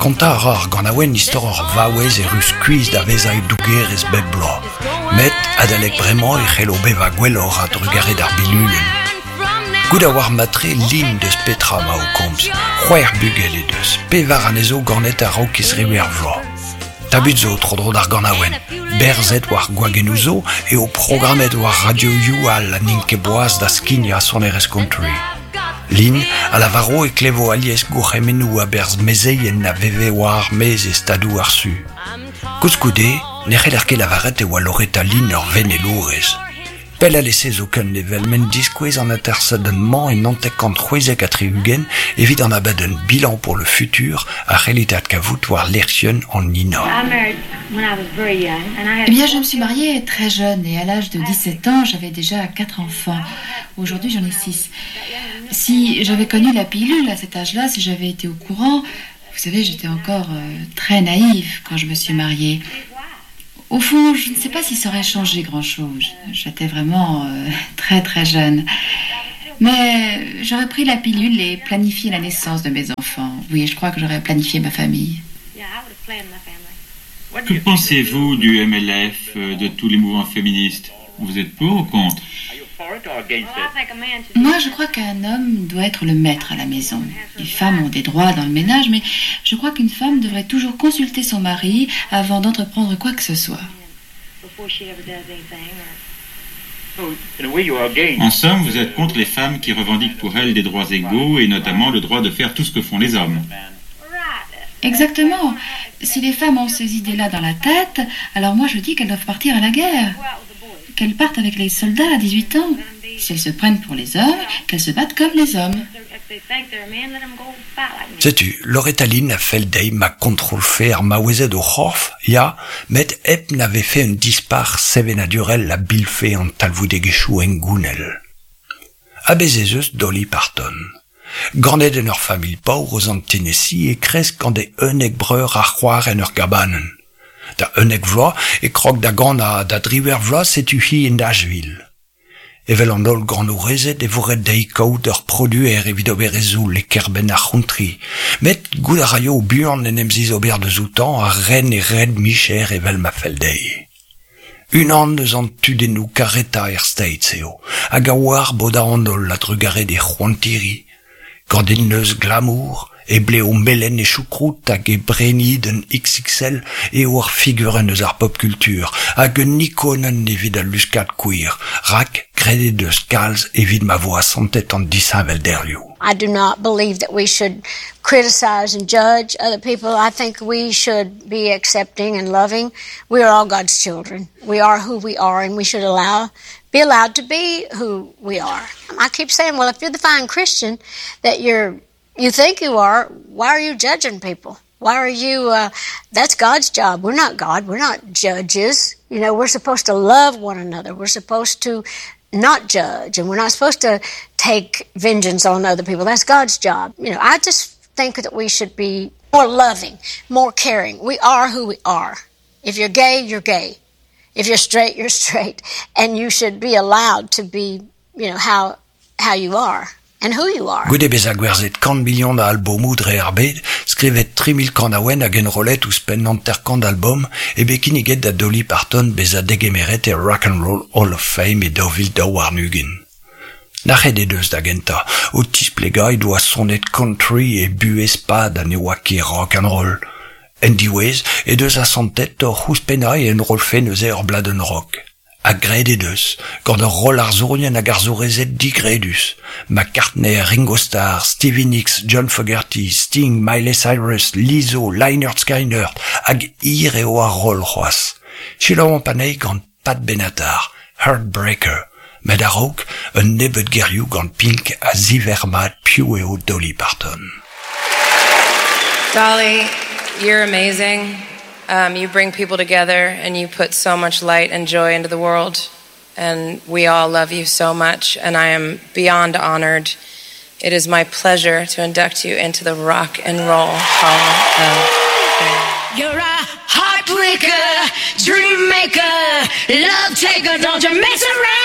Kontañ a ra ar ganaouenn istor ur vaouez erru skuizh da vezañ dougerez bep bloaz. Met adalek bremañ e c'hello bevañ gwelloc'h a-drugarez d'ar bilulenn. Goût a oar mat-tre Lynn deus petra 'ma o komz. C'hwec'h bugel he deus, pevar anezho ganet a-raok he zriwec'h vloaz. Tabut zo tro-dro d'ar ganaouenn. Berzet war gwagennoù zo eo programmet war radioioù all ha n'int ket boas da skignañ sonerezh country. Lynn a lavaro e klevo alies gourc'hemennoù a-berzh mezeien a veve war ar maez e stadoù ar Su. Koulskoude, ne c'heller ket lavaret e oa Loretta Lynn ur venelourez. Pell alese zoken evel m'en diskouez an atersadenn-mañ en 1976 evit an abadenn Bilan pour le futur a c'hellit adkavout war lec'hienn an INA. Eh bien, je me suis mariée très jeune et à l'âge de 17 ans, j'avais déjà quatre enfants. Aujourd'hui, j'en ai six. Si j'avais connu la pilule à cet âge-là, si j'avais été au courant, vous savez, j'étais encore euh, très naïve quand je me suis mariée. Au fond, je ne sais pas si ça aurait changé grand-chose. J'étais vraiment euh, très très jeune. Mais j'aurais pris la pilule et planifié la naissance de mes enfants. Oui, je crois que j'aurais planifié ma famille. Que pensez-vous du MLF, euh, de tous les mouvements féministes Vous êtes pour ou contre Moi, je crois qu'un homme doit être le maître à la maison. Les femmes ont des droits dans le ménage, mais je crois qu'une femme devrait toujours consulter son mari avant d'entreprendre quoi que ce soit. En somme, vous êtes contre les femmes qui revendiquent pour elles des droits égaux et notamment le droit de faire tout ce que font les hommes. Exactement. Si les femmes ont ces idées-là dans la tête, alors moi je dis qu'elles doivent partir à la guerre. Qu'elles partent avec les soldats à 18 ans. Si elles se prennent pour les hommes, qu'elles se battent comme les hommes. Setu, Loretta Lynn a fell dezhi ma kontrolfe ar maouezed o c'horf, ya, met hep na vefe un dispac'h sevenadurel a bilfe an talvoudegezhioù hengounel. Ha bez' ez eus Dolly Parton. Ganet en ur familh paour eus an Tennessee e kresk gant e unnek breur ha c'hoar en ur gabanenn. Da 11 vloaz e krog da ganañ ha da driwec'h vloaz setu-hi e Nashville. Evel an holl ganourezed e vo ret dezhi kaout ur produer evit ober he zoull e kêr-benn ar c'hountry. Met goût a raio buan en em zizober deus outañ ha ren e red-micher evel ma fell dezhi. Unan eus an tudennoù karetañ er States eo, hag a oar bodañ an holl a-drugarez d'e c'hoantiri. Gant e neuz glamour, e blev melen e choucroute hag e brennid XXL eo ar figurenn eus ar pop culture hag un ikonenn evit al luskad queer, rak graet he deus kalz evit ma vo asantet an disheñvelderioù. I do not believe that we should criticize and judge other people. I think we should be accepting and loving. We are all God's children. We are who we are and we should allow be allowed to be who we are. I keep saying, well, if you're the fine Christian that you're you think you are, why are you judging people? Why are you, uh, that's God's job. We're not God. We're not judges. You know, we're supposed to love one another. We're supposed to not judge and we're not supposed to take vengeance on other people. That's God's job. You know, I just think that we should be more loving, more caring. We are who we are. If you're gay, you're gay. If you're straight, you're straight. And you should be allowed to be, you know, how, how you are. And who you are. Goude bezañ gwerzhet kant milion a albomoù dre ar bed, skrivet 3000 kanaouenn hag enrollet ouzhpenn 50 albom, eo bet kinniget da Dolly Parton bezañ degemeret e Rock and Roll Hall of Fame e 2022. Nac'het he deus da gentañ, o tisplegañ he doa sonet country e buhez-pad ha ne oa ket rock and roll. En diwezh he deus asantet oc'h ouzhpennañ e enrollfe neuze ur bladenn rock. Ha graet he deus, gant ur roll arzourien hag arzourezed digredus, McCartney, Ringo Starr, Stevie Nicks, John Fogerty, Sting, Miley Cyrus, Lizzo, Lynyrd Skynyrd, hag hir eo ar roll c'hoazh. Selaouomp anezhi gant Pat Benatar, Heartbreaker, met a-raok un nebeud gerioù gant Pink a ziverr mat piv eo Dolly Parton. Dolly, you're amazing. Um, you bring people together and you put so much light and joy into the world. And we all love you so much. And I am beyond honored. It is my pleasure to induct you into the Rock and Roll Hall of Fame. You're a heartbreaker, dream maker, love taker, don't you mess around.